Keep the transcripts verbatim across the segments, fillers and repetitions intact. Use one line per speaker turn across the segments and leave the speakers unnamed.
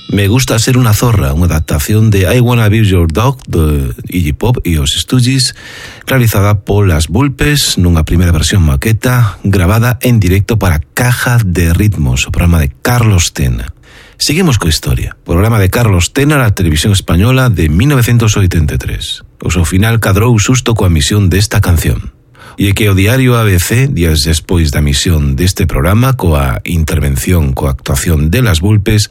Me gusta ser unha zorra, unha adaptación de I Wanna Be Your Dog de Iggy Pop e os Stooges, realizada polas Vulpes nunha primeira versión maqueta gravada en directo para Caja de Ritmos, o programa de Carlos Tena. Seguimos coa historia. O programa de Carlos Tena na televisión española de mil novecientos oitenta e tres. O seu final cadrou xusto coa emisión desta canción. E é que o diario A B C, días despois da emisión deste programa, coa intervención, coa actuación de las Vulpes,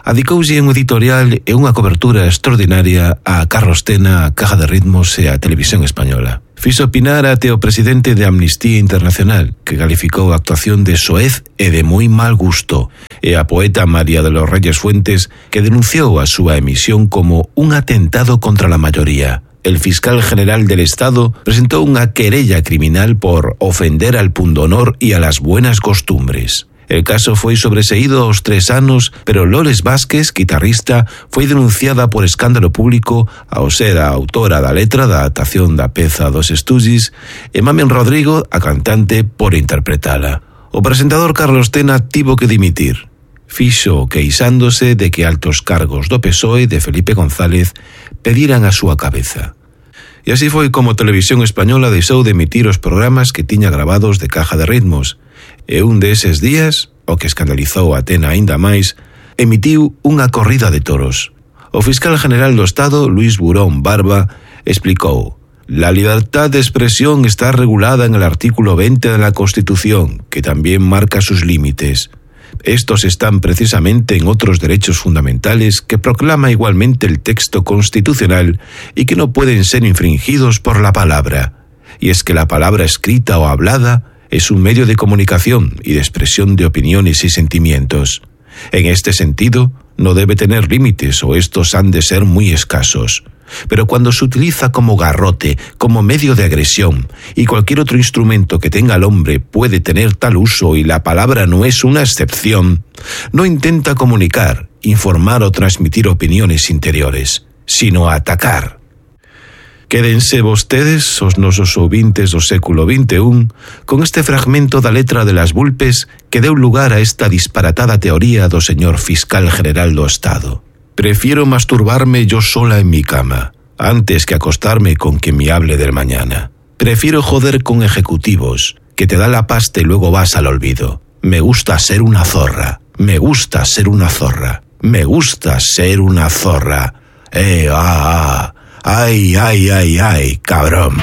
adicouse un editorial e unha cobertura extraordinaria a Carlos Tena, a Caja de Ritmos e a televisión española. Fixo opinar até o presidente de Amnistía Internacional, que calificou a actuación de soez e de moi mal gusto, e a poeta María de los Reyes Fuentes, que denunciou a súa emisión como un atentado contra la mayoría. El fiscal general del Estado presentó una querella criminal por ofender al pundonor y a las buenas costumbres. El caso foi sobreseído aos tres anos, pero Loles Vázquez, guitarrista, foi denunciada por escándalo público ao ser a autora da letra da adaptación da peza dos Stooges e Mamen Rodrigo, a cantante, por interpretala. O presentador Carlos Tena tivo que dimitir. Fixo queixándose de que altos cargos do P S O E de Felipe González pediran a súa cabeza. E así foi como Televisión Española deixou de emitir os programas que tiña gravados de Caja de Ritmos, e un deses días, o que escandalizou a Tena aínda máis, emitiu unha corrida de toros. O fiscal general do Estado, Luis Burón Barba, explicou: la libertad de expresión está regulada en el artículo veinte de la Constitución, que también marca sus límites. Estos están precisamente en otros derechos fundamentales que proclama igualmente el texto constitucional y que no pueden ser infringidos por la palabra. Y es que la palabra escrita o hablada es un medio de comunicación y de expresión de opiniones y sentimientos. En este sentido, no debe tener límites o estos han de ser muy escasos. Pero cuando se utiliza como garrote, como medio de agresión, y cualquier otro instrumento que tenga el hombre puede tener tal uso y la palabra no es una excepción, no intenta comunicar, informar o transmitir opiniones interiores, sino atacar. Quédense vostedes, os nosos ouvintes do século vinte e un, con este fragmento da letra de las Vulpes que deu lugar a esta disparatada teoría do señor fiscal general do Estado. Prefiero masturbarme yo sola en mi cama, antes que acostarme con quien me hable del mañana. Prefiero joder con ejecutivos, que te da la pasta y luego vas al olvido. Me gusta ser una zorra, me gusta ser una zorra, me gusta ser una zorra. Eh, ah, ah. Ay, ay, ay, ay, cabrón.